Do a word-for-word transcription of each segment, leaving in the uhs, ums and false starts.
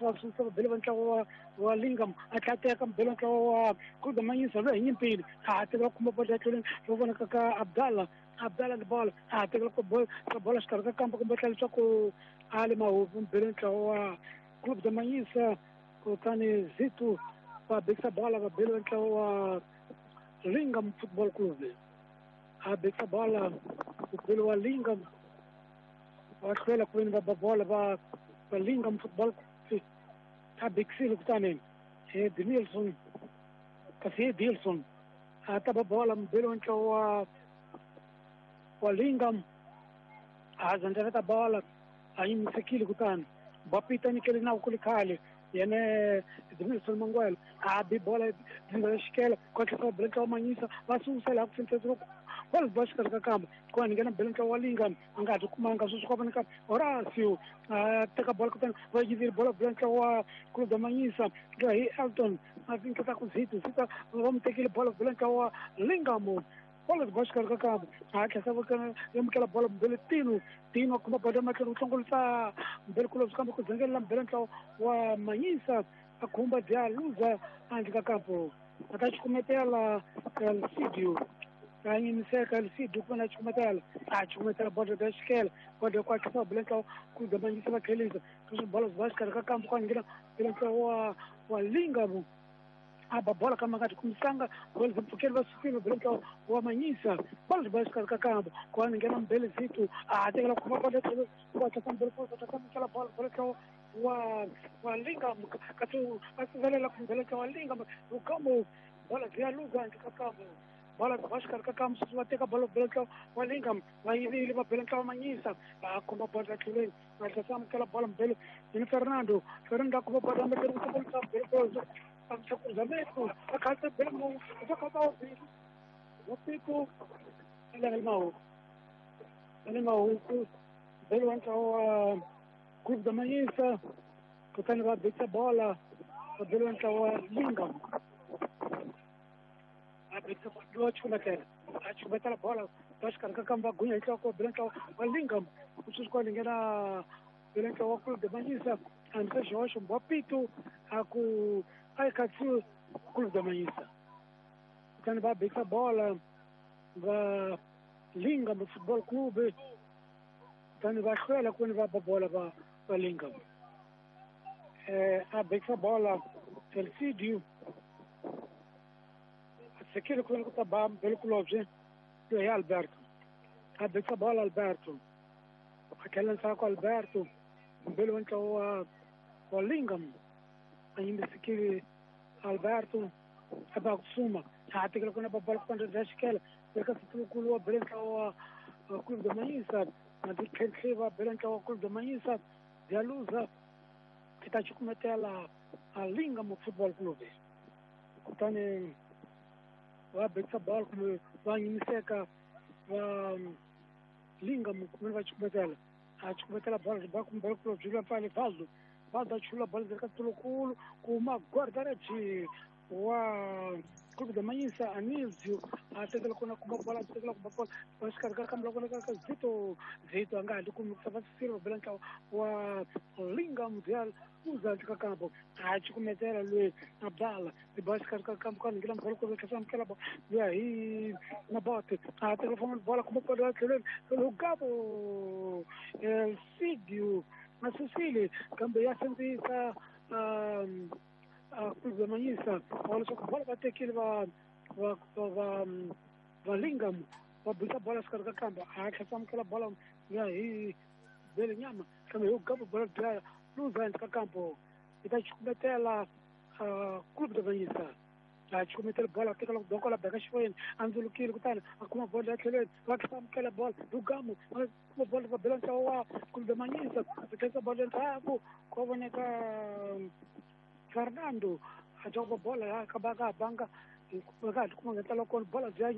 va susa va bele va ntlawa wa wa Lingam a tlateka mbele ntlawa wa Clube da Manhisa loyi hi nyimpini a tekela khumba bolo ya tlhelweni ro vonaka ka Abdallah Abdallah ni bolo a tekela bolo bolo xikarhi ka kampa kumbe tlhela leswaku a le mahupu mbele ntlawa wa Clube da Manhisa kutani Zito va bekisa bola va bele ntlawa wa Lingam Football Club a bekisa bola bele wa Lingam va hlwela ku veni va ba bola va va Lingam Football Club a bekisile kutani Edmilson kasi Edilson a ta ba bola mbele wa ntlawa wa wa Lingam a zandzela bola a yimisekile kutani Bapita nyikele na ku khale yena Edmilson Mangwelo a bi bola dzinga xikela ku tlhela bele ntlawa Manhisa va susela ku fintsetsa bola ba xikarhi ka kamba ku va nghena bele ntlawa wa Lingam a nga ha kumanga sweswi ku vonaka Horacio a teka bola kutani va yivile bola bele ntlawa wa Clube da Manhisa hi Elton a finketa ku Zito Zito va mu tekile bola bele ntlawa wa Lingam bola ba xikarhi ka kamba a tlhela va amukela bola mbele Tino Tino kuma bola matlhelo ku hlongolisa mbele kulobye kambe ku dzengelela mbele ntlawa wa Manhisa a khumba dya luza handle ka kampo a ta xikumetela Elcidio a yimiseka Elcidio ku vona xikumetela a xikumetela bola ya xikela bola ku tlhela bele ntlawa ku da Manhisa va tlhelisa sweswi bola ba xikarhi ka kampo ku nghena mbele ntlawa wa wa Lingam a ba bola kama nga kumisanga bola mpfukeli va sukile bele ntlawa wa Manhisa bola ba xikarhi ka kampo ku va nghena mbele Zito a tekela khumba bola tlhelo ku tlhela mbele ku tlhela amukela bola bele ntlawa wa wa Lingam kasi a sivelela ku mbele ntlawa wa Lingam lukamo bola ya luza handle ka kampo bola ba xikarhi ka kampo sweswi va teka bola bele ntlawa wa Lingam va yivile va bele ntlawa Manhisa va khumba bola tlhelweni va tlhela amukela bola mbele ni Fernando Fernando a khumba bola mbele ku tlhela mbele ku cruzamento, a casa bem, a casa o pico, ele é mau, ele é mau, ele entra o Clube da Manhisa, kutani va betsa bola, ele entra o Lingam, a betsa bola, chumatela, a chumatela bola, acho que a camba gunya entra o ele entra o Lingam, o susco ninguém ele entra o Clube da Manhisa, antes Jorge um bopito, a ku ai katsu Clube da Manhisa. Kutani va betsa bola va Lingam Football Club kutani va hlwela ku va ba bola va va Lingam. Eh a betsa bola Elcidio a tsekile ku ta ba mbele kulobye hi Alberto. A betsa bola Alberto. A tlhela ntsako Alberto mbele wa ntlawa wa Lingam. A yimisekile Alberto a ba kusuma a tekela kuna ba bola kutani bya xikela eka situkulu wa bele ntlawa wa Clube da Manhisa na titlhentlhe va bele ntlawa wa Clube da Manhisa bya luza i ta cukumetela a Lingam Football Club kutani va betsa bola kumbe va yimiseka va Lingam kumbe va cukumetela a cukumetela bola ba kumbe club byi pfale Valdo Valdo chula bola eka tulukulu kuma guarda-redes wa Clube da Manhisa Anísio a tekela kona kuma bola a tekela kuma bola va xikarhi ka kambe loko ka Zito Zito a nga ha kumi ku va Silva bela ntlawa wa Lingam bya uza ka kampo a cukumetela loyi Abdala ba xikarhi ka kampo ka nghena bola ku tlhela amukela bola ya hi Nabote a tekela famba bola kuma bola tlhelweni Lugabo Elcidio a susile kambe ya sindzisa um Clube da Manhisa olha só que bola vai ter que ele va va va va Lingam va bisa bola xikarhi ka kamba a tlhela amukela bola ya hi bele nyama kambe hi gabo bola dya luza handle ka kampo i ta cukumetela Clube da Manhisa a cukumetela bola tekela ku dokola beka xivoyeni a ndzulukile kutani a kuma bola ya tlhelweni va tlhela amukela bola Lugamo a kuma bola va bela ntlawa wa Clube da Manhisa a tlhela bola endzhaku ko voneka Fernando a joga bola ya ka ka banga ka kuma ngentla ko bola bya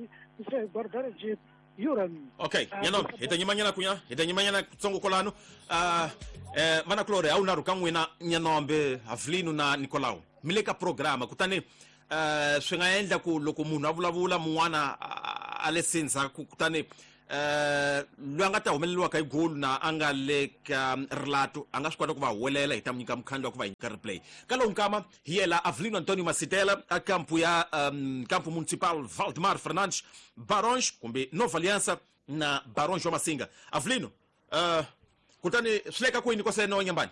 se guarda-redes Yuran. Okay, nyano hi ta nyimanyana kunya hi ta nyimanyana tsongo kolano uh eh vana Gloria a wu na ruka n'wina Nyanombe Havlino na Nicolau mi le ka programa kutani eh swi nga endla ku loko munhu a vulavula mun'wana a le sindzha kutani eh loyi a nga ta humeleriwaka hi goal na a nga le ka rilato a nga swi kota ku va huwelela hi ta mu nyika mukhandlu wa ku va hi nyika replay. Ka lowu nkama hi yela Avelino Antonio Masitela a kampu ya um, kampu municipal Valdemar Fernandes, Barões kumbe Nova Aliança na Barões wa Masinga. Avelino, uh, kutani swi le ka kwini kwaseno Nyambani?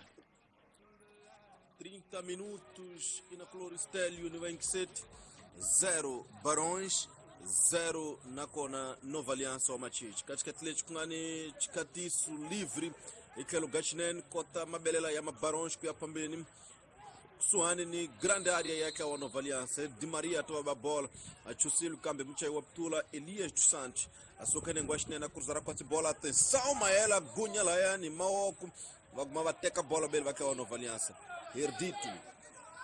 trinta minutos e na Cloristelio ni vinte e sete zero Barões zero nakona Nova Aliança wa Machichi. Katika Atlético ngani chikatisu livre ikhelo gachinen kota mabelela ya Mabarões kuya pambeni kusuhani ni grande área yake wa Nova Aliança. Di Maria toa ba bola achusilo kambe mchai wa ptula Elias dos Santos asokene ngwashinena cruzar kwa bola. Atenção maela gunya la yani maoko vaguma vateka bola bele vake wa Nova Aliança. Herdito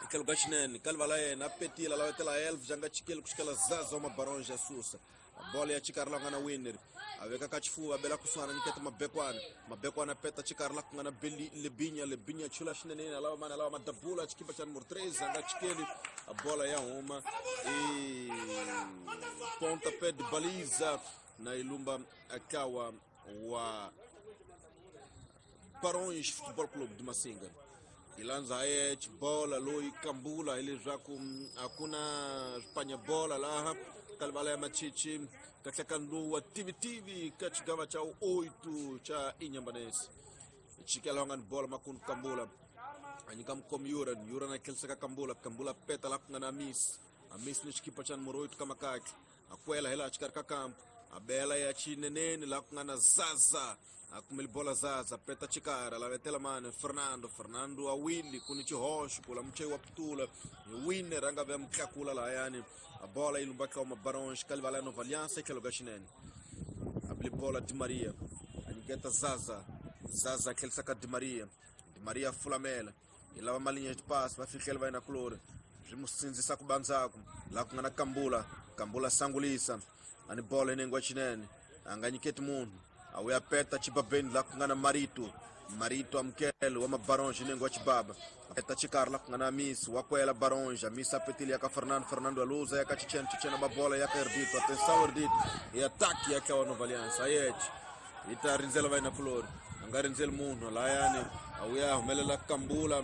ikhelo gachinen kalvala yena petila la wetela elf janga chikele kushikela zaza wa Mabarões ya susa a bola ya chikarla ngana winner aveka kachifuwa bela kuswana niketa mabekwana mabekwana peta chikarla ngana beli lebinya lebinya chula shinene alawa mana alawa madabula chikipa cha número três anga chikele a bola ya uma e pontapé de baliza na ilumba akawa wa Barões Futebol Clube de Massinga. Ilanza aye bola loi kambula ile zaku hakuna Espanha bola laha kalvala ya Machichi katika nduwa T V T V kachigava cha oito cha Inhambane. Chikela wangan bola makun kambula anyika mkom yuran yuran akelseka kambula kambula peta la kungana amis amis ni chikipa cha número oito kama kake akwela hela chikarka kampo abela ya chinenene la kungana zaza akumeli bola zaza peta chikara la vetela mane Fernando Fernando awili kuni chihosho kula mchei wa ptula winner anga vya mkakula la yani a bola ilumbaka wa Barões kalvala Nova Aliança que lugar chinene abli bola Di Maria anigeta zaza zaza aquele saca Di Maria Di Maria fulamela ilava malinha de passe vai ficar ele vai na clora rimusinzisa kubanzaku la kungana kambula kambula sangulisa ani bola inengwa chinene anganyiketi munhu awuya peta chibabeni la kungana marito marito amkele wa Mabarões inengwa chibaba peta chikar la kungana amis wakwela Barões amis apetili yaka Fernando Fernando aluza yaka Chichen Chichen babola yaka Erdito atenção Erdito e ataque yaka wa Nova Aliança ayete ita rinzela vai na flor angarinzela munhu la yani awuya humelela kambula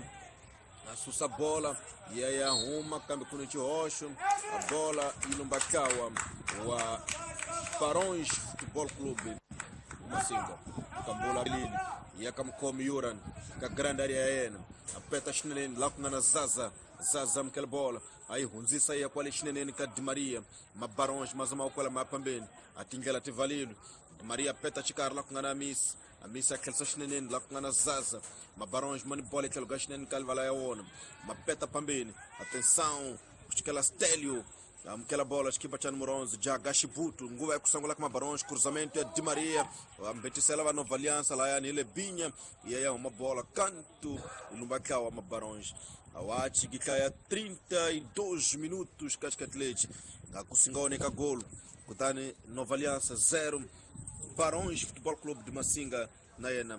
asusa bola yaya huma kambe kuni chihosho a bola ilumbakawa wa Barões Futebol Clube Massinga kambula lini yakamkomi yuran ka grande area yena apeta shinene la kungana zaza zaza mkele bola ayi hunzisa ya kwale shinene ka Di Maria Mabarões mazama ukwala mapambeni atingela tivalilo Di Maria peta chikar la kungana amis amisa akelsa shinene la kungana zaza Mabarões mani bola ikelo shinene kalvala ya wona mapeta pambeni atenção kuchikela Stelio amkela bola chikipa cha número onze Jagashibutu nguva ya kusangula kama Barões cruzamento ya Di Maria ambetisela va Nova Aliança la yani ile binya ya ya uma bola canto ilumbakawa Mabarões awachi gikaya trinta e dois minutos katikati akusingaoneka golo kutani Nova Aliança zero Barões Futebol Clube de Massinga na yena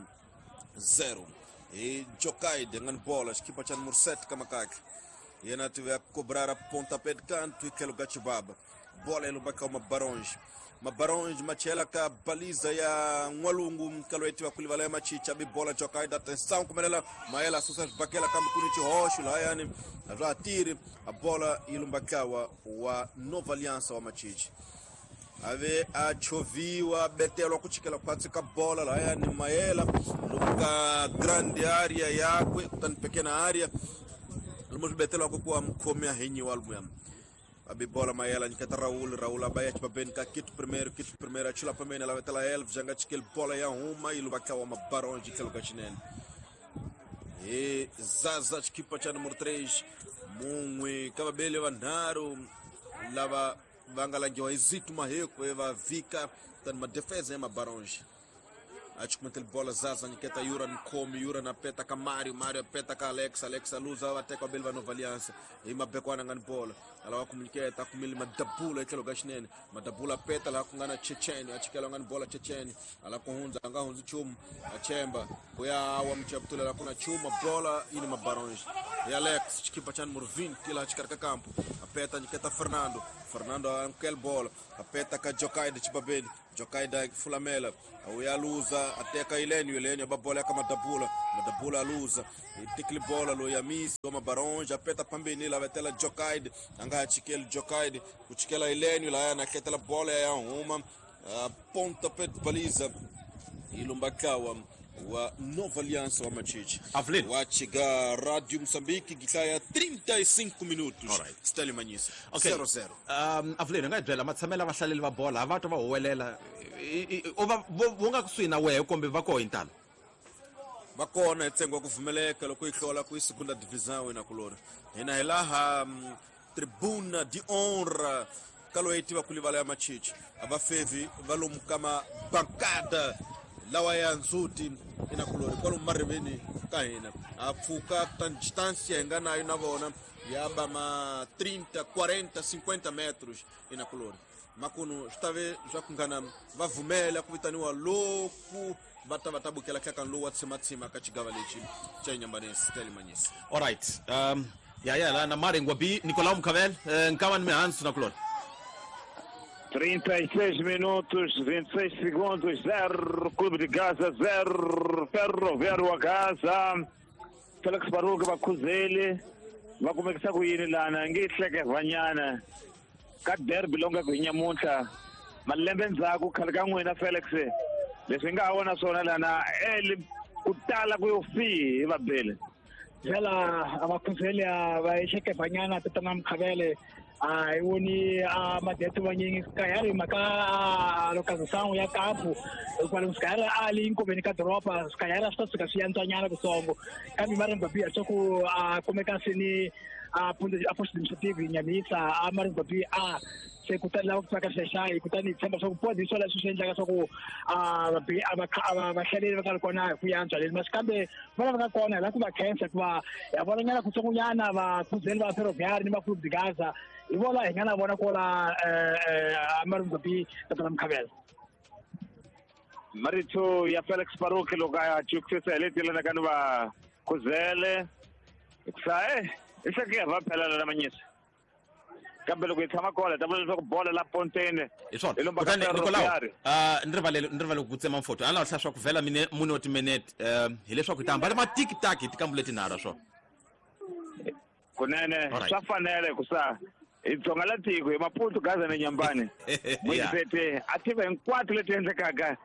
zero e Jokaide ngani bola chikipa cha número sete kama kake yena tive a cobrar a pontapé de canto e que lugar chibaba bola ilumbaka uma Barões Mabarões machela ka baliza ya Nwalungu mkaloeti wa kulivala ya Machicha bi bola Jokaide atenção kumelela maela susa bakela kama kuni chihosho la yani ratiri a bola ilumbakawa wa Nova Aliança wa Machichi ave achoviwa betelo kuchikela kwatsika bola la yani maela luka grande area yakwe kutani pequena área lumo betelo kwa mkhomea henyi walmu abibola mayela nikata Raul Raul abaya chibabeni ka kitu primeiro kitu primeiro achila pamene la vetela elf janga chikel bola ya uma ilubakawa Mabarões kelo kachinene e zaza chikipa cha número três mumwe kababele vanharu lava vangalangiwa izitu maheko eva vika tani madefesa ya Mabarões achikumetel bola zaza niketa yura nkomi yura na peta ka Mario Mario peta ka Alex Alex aluza wateka belva Nova Aliança e mabekwana ngani bola alawa kumuniketa kumili madabula ikelo gashinene madabula peta la kungana Checheni achikela ngani bola Checheni ala kuhunza anga hunzi chum achemba kuya wa mchaptula la kuna chuma bola ini Mabarões e Alex chikipa cha número vinte la chikarka campo apeta niketa Fernando Fernando ankel bola apeta ka Jokaide chibabeni Jokaida fulamela uyaluza ateka ileni ileni ababola kama dabula madabula aluza itikli bola lo yamisi wa mabaronja apeta pambeni la vetela Jokaid anga chikeli Jokaid kuchikela ileni la yana ketela bola ya uma ponta pet baliza ilumbakawa wa Nova Aliança wa Machichi Avelino wa chiga Rádio Moçambique gikaya trinta e cinco minutos. All right. Stanley Manyisa Okay. zero zero. Um Avelino nga byela matshamela vahlaleli va bola va twa va huwelela o va vo nga kusuhi na wehe kumbe va koho intalo va kona hi ntsengo wa ku pfumeleka loko yi hlola ku yi segunda divisão ina kulori hina hi laha um, tribuna de honra ka loyi tiva ku livala ya Machichi a va fevi va lomu ka mabankada lawa ya ndzhuti ina kulori kwalomu mariveni ka hina a pfuka ta distância hi nga nayo na vona ya ba ma trinta, quarenta, cinquenta metros ina kulori makunu swi ta ve swa ku ngana va vumela ku vitaniwa loku va ta va ta bukela nhlakano lowu wa tshimatsima ka xigava lexi xa Inyambanesi Stanley Manyisa. All right. Um ya ya la na Maringwa B Nicolau Mkhavel nkava ni mihansu na kulori trinta e seis minutos, vinte e seis segundos, zero, Clube de Gaza, zero, Ferroviário a Gaza. Felix Baruga vakhuzeli va kumekisa ku yini lana nge hleke vanyana ka derby longa ku nyamuntlha malembe ndzhaku khale ka n'wina Felix leswi nga vona swona lana eli ku tala ku yo fihi va bele vela abakhuzeli va hleke vanyana tatana Mkhavele a hi voni a madeto vanyingi sikayari mhaka lokazisano ya kampu hikwalaho sikayari a li nkoveni ka doroba sikayari a swi ta suka swi yantswanyana kutsongo kambe Maringwa B a swa ku a kumeka seni a a post administrative Nyamisa a Maringwa B a se kutani lava ku tsaka xexayi kutani hi tshemba swa ku podi hi swona leswi swi endlaka swa ku a a vahlaleri va nga ri kona hi ku yantswa leni masi kambe va lava nga kona hi lava ku va khensa hikuva ha vonanyana kutsongonyana vakhuzeli va Ferroviário ni va Clube de Gaza hi vona hi nga na vona kola Maringwa B tatana Mkhavela. Marito ya Felix Baruch loko a chukisisa hi leti lana ka ni va khuzele hikusa e i hleke va phela na Manyisa kambe loko hi tshama kona ta vula leswaku bola la ponteni hi swona kutani Nicolau ni rivalele ni rivalele ku tsema mfoto a ni lava hlaya swa ku vhela mine mune wa timinete hileswaku hi ta hambana matikitaki hi tikambu letinharhu swona kunene swa fanele hikusa hi dzonga la tiko hi Maputo Gaza na Nyambani muisete a tiva hinkwato leti endlekaka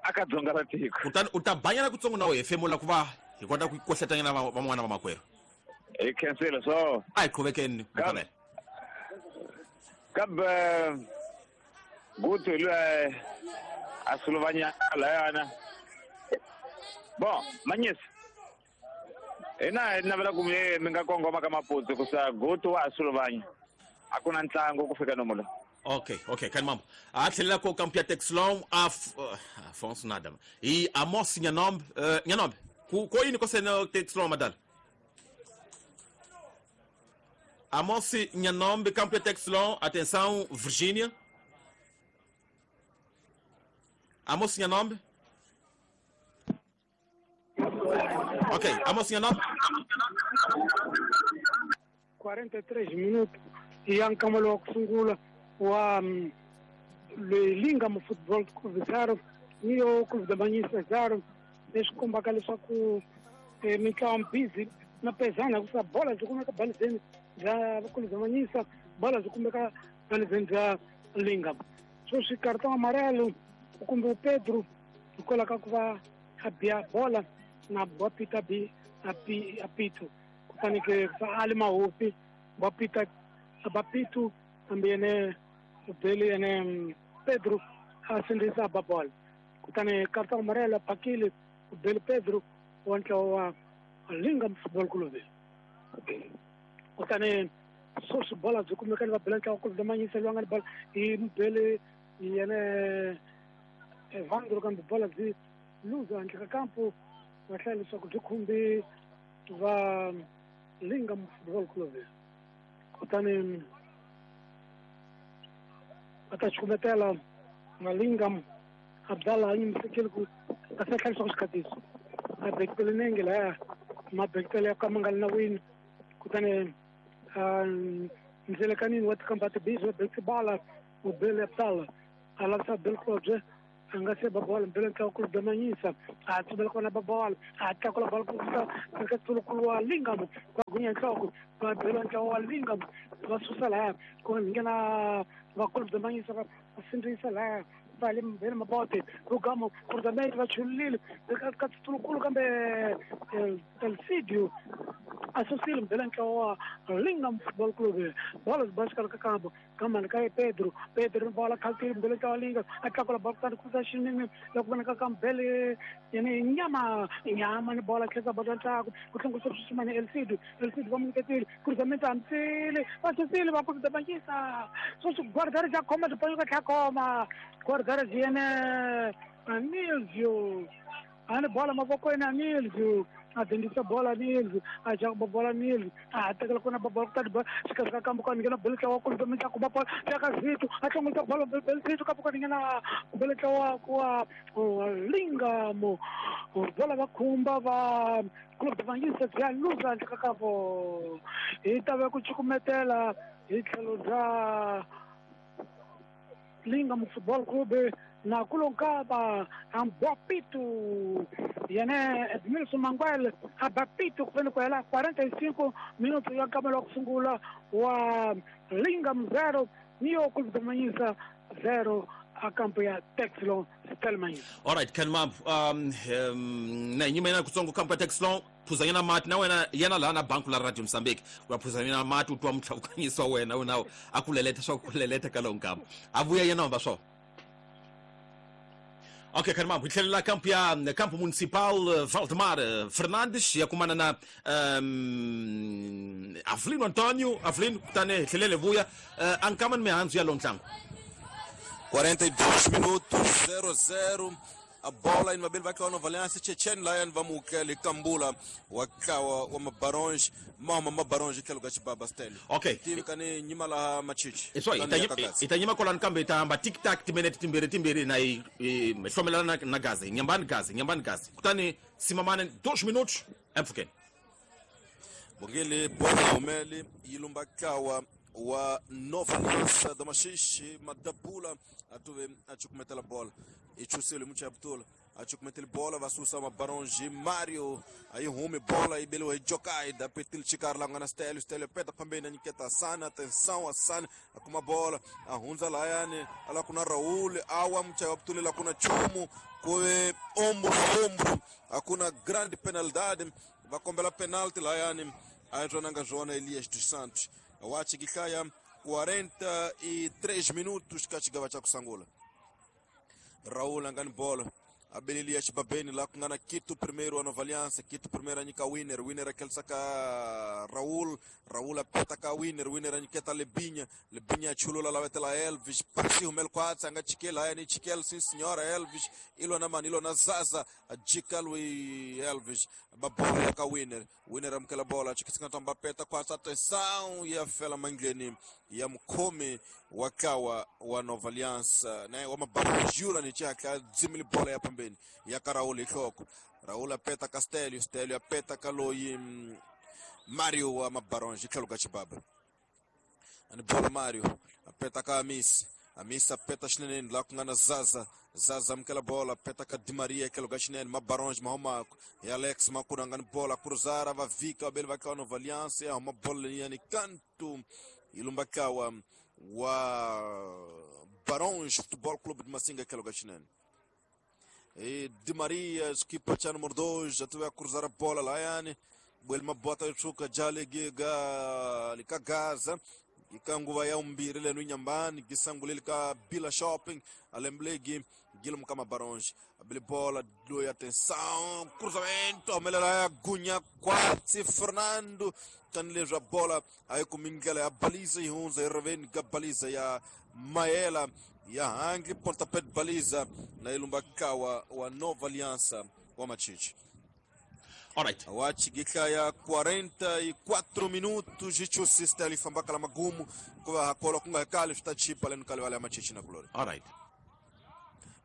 aka dzonga ra tiko kutani u ta banyana kutsongo na wehe femula ku va hi kota ku kohletanyana van'wana va makwerhu hi khensile so a hi qhuvekeni Mkhavele kambe gutu lwe a sulovanya layana bon Manyisa hina hi navela ku mi nga kongoma ka Maputo kusa gutu wa sulovanya a ku na ntlangu ku fika nomulo. Okay, okay, kani mambo a tlhelela ko kampu ya Texlon a Afonso nada e Amos Nyanombe uh, Nyanombe ku ko yini ko sena Texlon madala Amos Nyanombe campo ya Texlon, atenção Virgínia. Amos Nyanombe. Ok, Amos Nyanombe. quarenta e três minutos e ankamalo kusungula wa le Lingam Futebol Clube zero ni o Clube da Manhissa zero leswi kombaka leswaku mitlawa busy na pezana ku bola byi kumeka balizeni bya Clube da Manhissa bola byi kumeka balizeni bya Lingam sweswi cartão amarelo kumbe o Pedro hikwalaho ka ku va a biya bola na Bapita B api apito kutani ke Ali Mahofi Bapita Bapito hambi yene ubele yene Pedro a sindzisa ba bola kutani cartão amarelo phakile ubele Pedro wa ntlawa wa Lingam Football Club kutani sweswi bola byi kumeka ni va bela ntlawa Clube da Manhissa loyi a nga ni bola hi mubele yene Evandro kambe bola byi luza handle ka kampu va hlaya leswaku byi khumbi va Lingam Football Club kutani va ta xukumetela na Lingam Abdallah a yimisekile ku a se hlayisa ku xikhatiso a bekitele nenge laya mabekitele ya ka ma nga li nawini kutani ndzelekanini wa tikamba tibisi va bekisi bala u bele Abdallah A lavisa Bill Klobye a nga se ba bola mbele ntlawa Clube da Manhiça a tsubela kona ba bola a tlakula bola ku fika eka tsulukulu wa Lingam va gunya nhloko va bela ntlawa wa Lingam va susa lahaya ku nghena va Clube da Manhiça va sindzisa lahaya va le mbele mabote Rugamo cruzamento va chulile ka tsulukulu kambe Elcidio a susile mbele ntlawa wa Lingam Football Club bola zibasika ka kambo kamani ka Pedro Pedro bola khaltile mbele ntlawa Lingam a tlakula bola kutani kusa xinene loko vonaka ka mbele yene nyama nyama ni bola tlhela bola ntlhaku ku hlongorisa swimani Elcidio Elcidio va munyiketile cruzamento hamsile va susile va Clube da Manhiça sweswi guardare xa khoma tiponyo ka tlha khoma guardare yene Anilzio ani bola mavokweni Anilzio a dendisa bola Nilzio a jaka bola Nilzio a tekela kona bola kutani bola xikarhi ka kambo ka nghena bele ntlawa Clube da Manhiça kuma bola ya ka Zito a hlongorisa bola bele Zito kambo ka nghena bele ntlawa wa Lingam bola va khumba va Clube da Manhiça bya luza handle ka kambo hi ta va ku cukumetela hi tlhelo bya Lingam Football Club na kulonkaba ambopito yene Edmilson Manguel abapito kufeni ku hela quarenta e cinco minutos ya nkama wa ku sungula wa Lingam zero Neo Clube da Manhiça zero a kampo ya Texlon Stelman. All right, Ken Mamp, um um na nyima yena kutsongo kampo ya Texlon phuzanyana mati na wena yena laha na banku la Radio Mozambique wa phuzanyana mati u twa mutlhavukanyiso wa wena wena a ku leleta swa ku leleta ka lowu nkama a vuya yena hamba swona. Ok, Carmão, hi tlhelela kampo ya Campo Municipal Valdemar Fernandes ya kumana na um, Avelino Antonio. Avelino, kutani hi tlhelele vuya uh, a nkama ni mihandzu ya lowu ntlangu. quarenta e dois minutos, zero zero. A bola in vai com a Nova Aliança, Chechen Lion vamukele Kambula wakawa wa mabaronge mama mabaronge ke luga chibaba style. Ok. Tivi kani nyima la machichi. Eso itanyima kolani kambe itahamba tic tac timinete timbirhi timbirhi na i hlomelana na gazi nyambani gazi nyambani gazi. Kutani simamane dois minutos emfukeni. Bongele bola umeli ilumba kawa wa Nova Aliança da Machixe Madabula atuve achukumetela bola ichusele mucha abtula achukumetela bola vasusa mabaronge Mario aí rume bola e belo jokai da petil chicar lá na stélio stélio peta pambena niketa sana atenção asana akuma bola ahunza layane ala kuna Raul awa mucha abtula la kuna chumu koe ombro ombro akuna grande penalidade va kombela penalti layane ajonanga Joana Elias dos Santos. Wachi kikaya quarenta e três minutos kachigava cha kusangula. Raul angani bola. Abelilia Chibabeni lá kungana Quito primeiro a Nova Aliança, Quito primeiro a Nika Winner, Winner aquele saca Raul, Raul apeta ka Winner, Winner a Niketa Lebinha, Lebinha chulula lá vetela Elvis, partiu mel quatro, anga chiquela, ani chiquel sim senhora Elvis, ilo na manilo na Zaza, a Jikalu e Elvis, babola ka Winner, Winner amkela bola, chikisinga tamba peta quatro, atenção e a fela mangleni, ya mkome wakawa wa Nova Aliança, né, wa mabarujura ni chaka zimili bola ya pambeni ya Raul ihloko Raul apeta Castelio Stelio apeta Kaloi Mario wa mabaronge tlhelo chibaba ani bola Mario apeta ka Amis Amis apeta xinene la kungana Zaza Zaza mkela bola apeta ka Di Maria tlhelo ka xinene mabaronge mahomako ya Alex makuna ngani bola cruzara va vika bele va ka Nova Aliança ya mabola yani canto ilumbakawa wa Baronge Futebol Clube de Massinga tlhelo ka xinene. E Di Maria, equipa cha número dois, já teve a cruzar a bola lá, yani. Buelma bota chuka jale giga lika Gaza. Ikanguva ya umbiri lenu nyambani, gisangulili ka Bila Shopping, alemblegi Guilherme Kama Baronge. Abili bola, doi atenção, cruzamento, melhor Gunha quatro, Fernando, tanleja bola, aí com Mingela ya baliza e hunza, e reveni ga baliza ya Maela. Ya hangi pontapé de baliza na ilumbakawa wa Nova Aliança wa Machiche. Alright. Wachi gikaya quarenta e quatro minutos de chusista ali fambaka la magumu kwa hakola kunga kali tutachipa lenu kali wale Machiche na glory. Alright.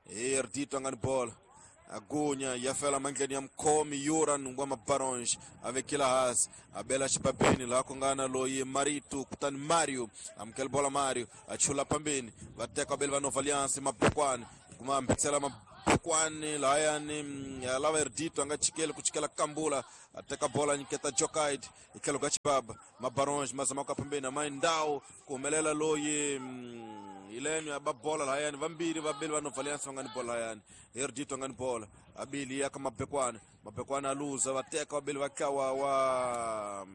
Erdito angani bola. Agunya ya fela mandleni ya mkhomi Yuran wa Mabaronge a vekela hansi a bela xibabeni laha ku nga na loyi Marito kutani Mario amukela bola Mario a chula pambeni va teka vabeli va Nova Alliance Mabokwane kuma ambitsela Mabokwane lahayani ya lava Erdito a nga chikeli ku chikela Kambula a teka bola nyiketa Jokaid hi tlhelo ka xibaba Mabaronge ma zama ku pambeni a Mindau ku humelela loyi Ileno ya bola lahayani vambirhi vabeli va Nova Alliance va nga ni bola lahayani Erdito nga ni bola abili ya ka Mabekwana Mabekwana a luza va teka vabeli va tlawa wa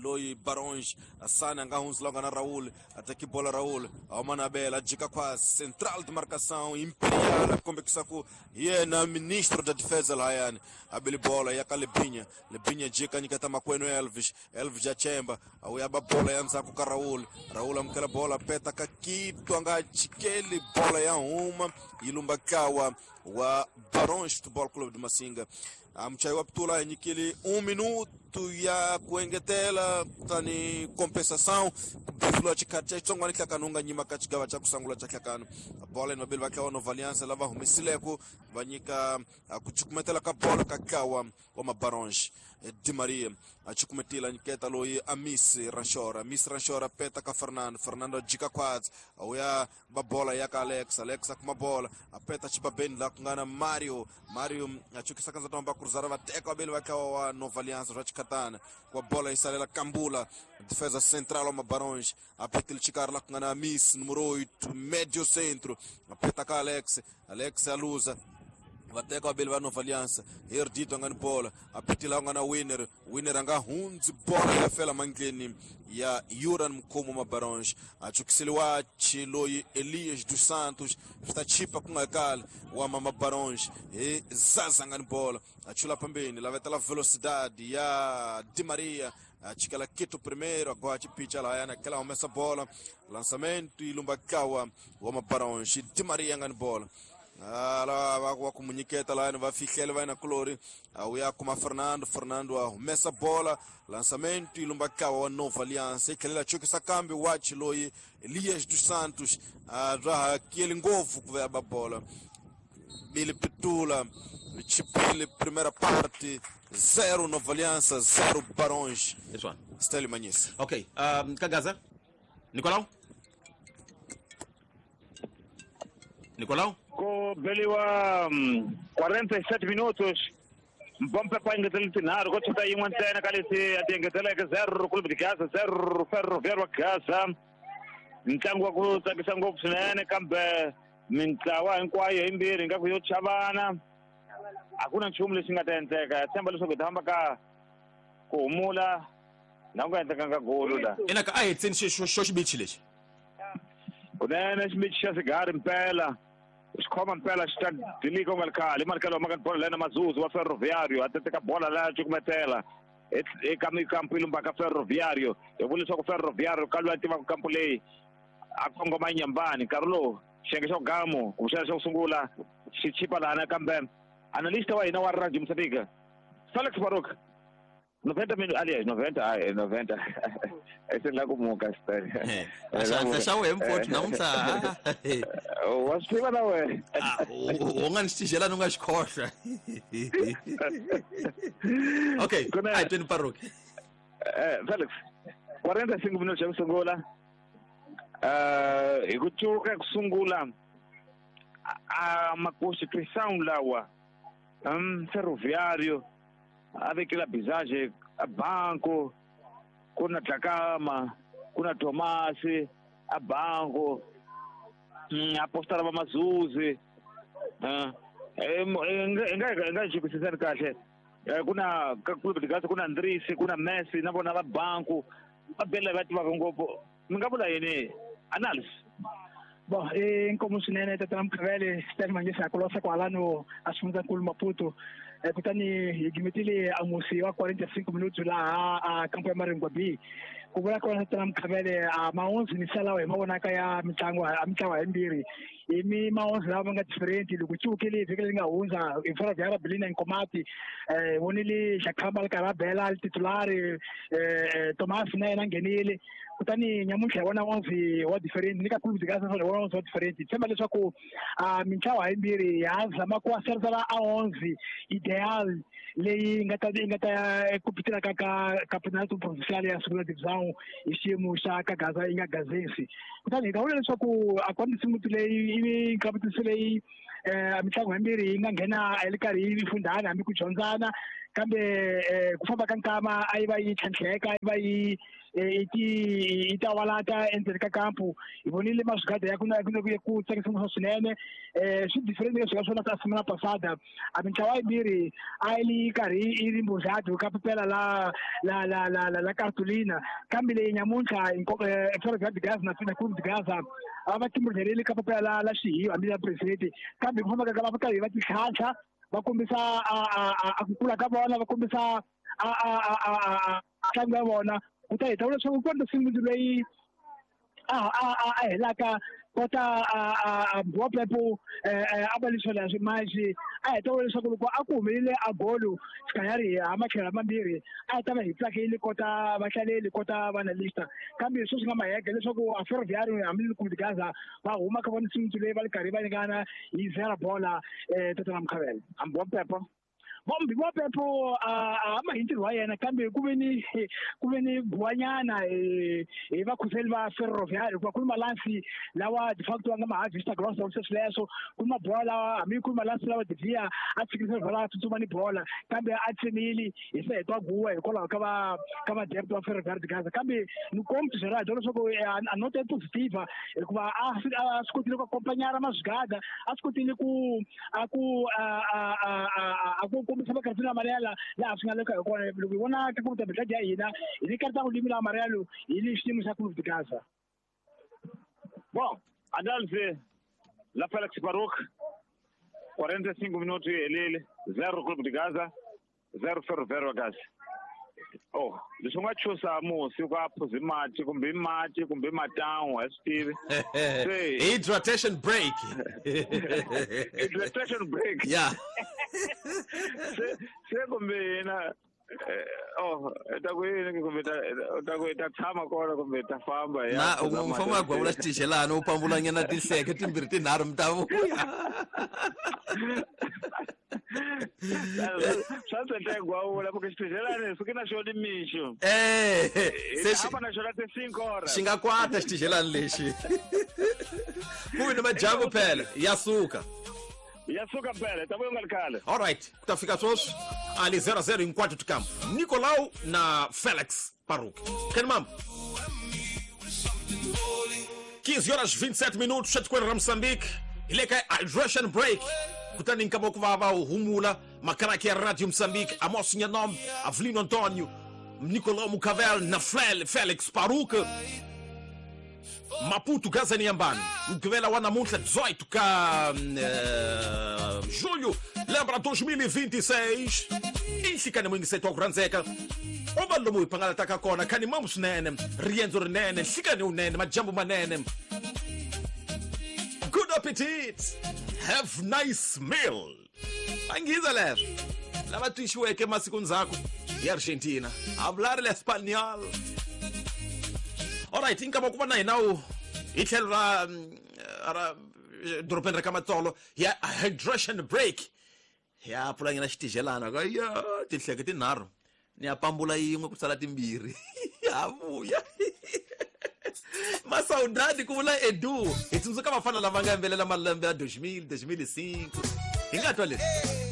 loyi Baronge Asana nga hundzi la nga na Raul a teki bola Raul a huma na bela jika kwa central de marcação Imperial a kombekisa ku yena ministro da defesa lahayani abeli bola ya ka Lebinya Lebinya jika nyiketa makwenu Elvis Elvis ya chemba au ya ba bola ya ndzhaku ka Raul Raul amukela bola peta ka Kito a nga chikeli bola ya huma yi lumba kawa wa Baronge Futebol Clube de Massinga. Amchayi wa Ptula nyikeli um minuto ya ku engetela kutani compensação kubefula xikhathi xa xitsongwana hlakano nga nyima ka xigava xa ku sungula xa hlakano bola ni vabeli va tlawa Nova Alliance lava humesileko va nyika ku cukumetela ka bola ka tlawa wa Mabaronge Di Maria a cukumetela nyiketa loyi Amis Ranchora Amis Ranchora peta ka Fernando Fernando jika khwatsi a wuya ba bola ya ka Alex Alex a kuma bola a peta xibabeni laha ku nga na Mario Mario a chukisa kanza tamba cruzar va teka vabeli va tlawa wa Nova Alliance swa xikhatana kwa bola yi salela Kambula defesa central wa Mabaronge a petile xikarhi laha ku nga na Amis número oito médio centro a peta ka Alex Alex a luza va teka vabeli va Nova Alliance Erdito a nga ni bola a petile a nga na Winner Winner a nga hundzi bola ya fela mandleni ya Yuran Mkhomo Mabaronge a chukiseliwa loyi Elias dos Santos swi ta chipa ku nga kali wa Mabaronge hi Zaza nga ni bola a chula pambeni lavetela velocidade ya Di Maria a chikela Kito primeiro agora chipicha lahayana kela humesa bola lançamento yi lumba kawa wa Mabaronge Di Maria nga ni bola ala va ku munyiketa lahayani va fihlela va yena kulori a wuya kuma Fernando Fernando a humesa bola lançamento yi lumba kawa wa Nova Alliance yi tlhelela chukisa kambe wachi loyi Elias dos Santos a bya hakeli ngopfu ku va ba bola Bili Pitula chipile primeira parte zero Nova Aliança zero Baronge. Stélio Manhissa. Ok, um, Kagaza Nicolau Nicolau Ku beliwa quarenta e sete minutos mpompe pa engetela tinharhu ko chuta yin'we ntsena ka leti a ti engeteleke zero Clube de Gaza zero Ferroviário Gaza ntlangu wa ku tsakisa ngopfu swinene kambe mintlawa hinkwayo yimbirhi ingaku yo chavana a ku na nchumu lexi nga ta endleka tshemba leswaku hi ta famba ka ku humula na ku nga endlekanga golo la ina ka a hetseni xo xibichi lexi kunene xibichi xa sigari mpela xikhoma mpela xi ta dilika u nga ri khale i malikelo wa maka bola lena Mazuzu wa Ferroviário a teka bola la cukumetela eka mikampu yi lumbaka Ferroviário hi vula leswaku Ferroviário ka loyi a tivaka kampu leyi a kongoma nyambani nkarhi lowu xiyenge xa gamu kumbexana xa ku sungula xi chipa lahana kambe analista wa hina wa Radio Moçambique Felix Baruch noventa minutos aliás noventa ai noventa esse lá como castanho xa xa wehe mfowethu namuntlha wa swi tiva na wehe u nga ni xitijela ni nga xi khohlwa okay a hi tweni Baruch Felix quarenta e cinco minutos xa ku sungula hi ku cuka ku sungula a maconstituição lawa um Ferroviário a vekela bizage a banco ku na Dlakama ku na Tomasi a banco a postara va Mazuzi hi nga hi nga xikwisisani kahle ku na ka Clube de Gaza ku na Andrisi ku na Messi na vona va banco va bela va tivaka ngopfu mi nga vula yini analysis. Bom, e inkomu swinene tatana Mkhavele Stélio Manhissa kulosa kwalano a xifundzankulu Maputo kutani hi gimetile a musi wa quarenta e cinco minutos laha a kampo ya Maringwa B ku vula kona tatana Mkhavele a ma onze ni salawa hi mavonaka ya mitlangu a mitlawa yimbirhi hi mi ma-onze lava nga different loko ciwukile vhiki leri nga hundza hi Ferroviário Bilina Nkomati eh vonile Xakhamba ri karhi a bela titulari eh Thomas na yena nghenile kutani nyamuntlha hi vona onze wa different ni ka Clube de Gaza hi vona onze wa different tshemba leswaku a mintlawa yimbirhi ya zama ku aserisela a onze ideal leyi nga ta nga ta ku pitela ka ka Campeonato Provincial ya Segunda Divisão hi xiyimo xa ka Gaza yi nga gazesi kutani hi ta vula leswaku a ku nsimu leyi i competition leyi eh mitlangu yimbirhi yi nga nghena yi ri karhi yi fundhana hambi ku dyondzana kambe ku famba ka nkama a yi va yi tlhantlheka a yi va yi i ti i tawalata endzeni ka kampu hi vonile maswigada ya ku na ku tsakisa ngopfu swinene eh swi different leswi nga swona ka semana passada a mintlawa yimbirhi a yi li karhi yi ri mbuzadu ka pepela la la la la la la cartolina kambe leyi nyamuntlha Ferroviário de Gaza na na Clube de Gaza a va timbudleleli ka pepela la la xihiwa hambi ya president kambe ku famba ka va karhi va titlhantlha va kombisa a a ku kula ka vona va kombisa a a a a ntlangu ya vona kutani hi ta vula leswaku ku na nsimu leyi a a a a helaka kota a a Mbiwa Pepo a va leswi leswi manje a hi ta vula leswaku loko a ku humelele a golo xikanyari ha matlhelo mambirhi a hi ta va hi tsakile kota vahlaleli kota vanalista kambe sweswi nga mahege leswaku a Ferroviário hambi Clube de Gaza va huma ka vona nsimu leyi va ri karhi va nyikana hi zero bola eh Tottenham Mkhavela Mbiwa Pepo Mbiwa Pepo a ma hi ntirho wa yena kambe ku ve ni ku ve ni guwanyana hi vakhuseli va Ferroviário hikuva ku ni malansi lawa de facto va nga ma-harvester ground sweswo sweswo ku ni mabola lawa hambi ku ni malansi lawa Devia a tshikisa bola a tsutsuma ni bola kambe a tsemile hi se hetwa guwa hikwalaho ka va ka va-depth va Ferroviário de Gaza kambe ni kombi Gerard leswaku a nota positiva hikuva a a swi kotile ku akompanyara maswigada a swi kotile ku a ku a a a ku kombisa makartini amarelo laha swi nga le ka hi kona loko hi vona ka kuta brigade ya hina hi ni karta ku limila amarelo hi le xiyimo xa Clube de Gaza. Bom, análise la Félix Baruch, quarenta e cinco minutos helele, zero Clube de Gaza, zero Ferroviário Gaza. Oh, leswi nga chusa musi ku a phuzi mati kumbe mati kumbe matan'wa a swi tivi. Hydratation break. Hydratation break. Yeah. Se se kumbe hina oh ta ku yini kumbe ta ta ku ta tshama kona kumbe ta famba ya. Na u famba gwavula xitixelana u pambulanyana tinhleke timbirhi tinharhu mi ta vuya. Swa tsendla gwavula porque xitixelana suke na xona mixo. Eh se xi na xona te cinco horas. Xi nga kwata xitixelana lexi. Ku ni majambu phela ya suka. Ya suka phela ta vuya nga ri khale. All right, ku ta fika sweswi ali zero zero hinkwato tikambu Nicolau na Félix Baruch. Ken mam quinze horas vinte e sete minutos etikweni ra Moçambique hi le ka hydration break kutani nkama ku va va humula makaraki ya Radio Moçambique Amos Nhanom Avelino Antonio Nicolau Mucavel na Félix Baruch Maputo Gaza Niambani Mugqivela wa namuntlha dezoito ka uh, julho lembra dois mil e vinte e seis i nhlikani muyingiseti wa ku rhandzeka u va lomu hi pangalataka kona khani mamu swinene riendzo rinene nhlikani wunene majambu manene. Good appetit, have nice meal. Angiza leswo lava twixiweke masiku ndzhaku hi Argentina hablar el español. All right, inkama ku va na hina wu hi tlhelo ra ra dorobeni ra ka Matsolo ya hydration break ya pfulanyana xitixelana ka ya tinhleke tinharhu ni ya pambula yin'we ku sala timbirhi ya vuya masaudade ku vula Edu hi tsundzuka vafana lava nga yimbelela malembe ya dois mil, dois mil e cinco hi nga twa leswi.